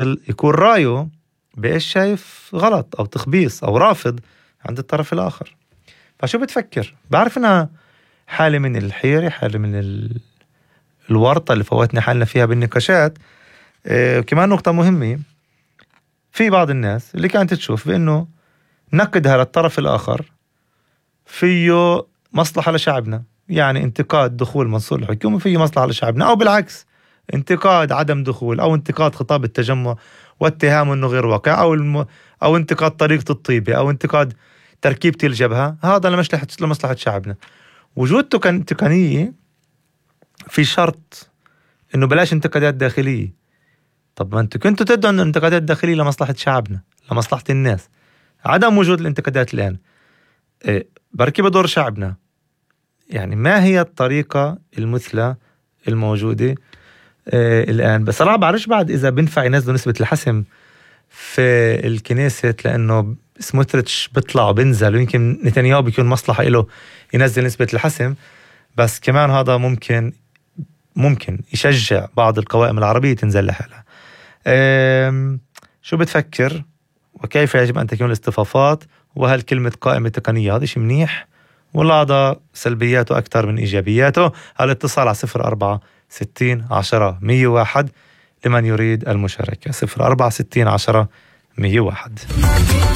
يكون رأيه بإيش شايف غلط أو تخبيص أو رافض عند الطرف الآخر. فشو بتفكر؟ بعرف إنها حالة من الحيرة، حالة من الورطة اللي فوتنا حالنا فيها بالنقاشات. كمان نقطة مهمة، في بعض الناس اللي كانت تشوف بأنه نقدها للطرف الآخر فيه مصلحة لشعبنا، يعني انتقاد دخول منصور الحكومة فيه مصلحة لشعبنا، أو بالعكس انتقاد عدم دخول أو انتقاد خطاب التجمع واتهامه أنه غير واقع، أو انتقاد طريقة الطيبة، أو انتقاد تركيبة الجبهة، هذا لمصلحة شعبنا. وجود تقنية في شرط إنه بلاش انتقادات داخلية. طب ما أنتوا كنتوا تدعوا أن الانتقادات الداخلية لمصلحة شعبنا، لمصلحة الناس. عدم وجود الانتقادات الآن بركي بدور شعبنا. يعني ما هي الطريقة المثلى الموجودة الآن؟ بصراحة بعرفش بعد إذا بنفع ينزلوا نسبة الحسم في الكنيسة، لأنه سموتريتش بيطلع وبنزل، ويمكن نتنياهو بيكون مصلحة إله ينزل نسبة الحسم. بس كمان هذا ممكن يشجع بعض القوائم العربية تنزل لحالها. شو بتفكر؟ وكيف يجب أن تكون الاصطفافات؟ وهل كلمة قائمة تقنية هذا شيء منيح ولا هذا سلبياته أكثر من إيجابياته؟ الاتصال على 046010 101 لمن يريد المشاركة. 046010 101.